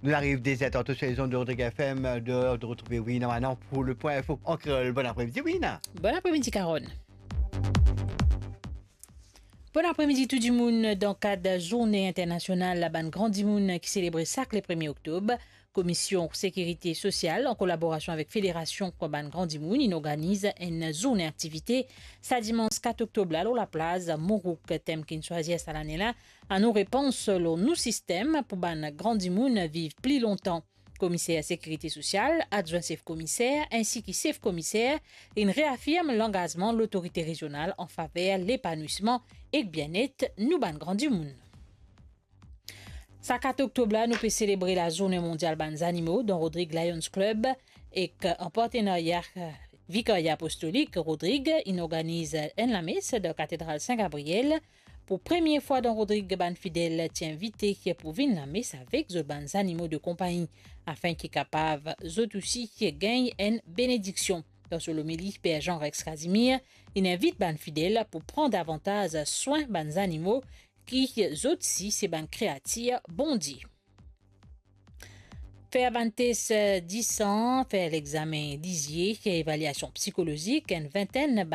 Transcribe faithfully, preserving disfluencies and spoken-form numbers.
Nou ariv de zer tanto sur les ondes de Rodrigue F M, de, de retrouver Wina Manon pour le point info en créole. Bon après-midi, Wina. Bon après-midi, Carole. Bon après-midi tout dimoun. Dan kad zourne internasional bann gran dimoun ki selebre sak le premie oktob, Komision Sekirite Sosial, an kolaborasion avek Federasion Bann Gran Dimoun, inn organiz enn zourne aktivite sa dimans kat oktob la lor laplaz Mourouk. Tem ki'nn swazir sa lane la, anou repans lor nou sistem pou bann gran dimoun viv pli lontan. Komiser Sekirite Sosial, adwin sef komiser, ensi ki sef komiser, inn reafirm langazman lotorite rezional an faver lepanwisman ek bienet nou bann gran dimoun. Sa kat oktob la, nou pe selebre Lazourne Mondial Bann Zanimo dan Rodrig Lions Club ek an partenarya Vikarya Apostolik Rodrig inn organiz enn lames dan Katedral Sin Gabriel. Pou premie fwa dan Rodrig, bann fidel ti invite pou vinn lames avek zot bann zanimo de konpagni, afin ki kapav zot osi gagn enn benediksion. Dan so lomili, Per Jean Rex Casimir inn invit bann fidel pou pran davantaz swin bann zanimo ki zot si se bann kreatir Bondie. Fer bann tes, eh, disan, fer lexame lizie, evaliasion psikolozik, enn vintenn bann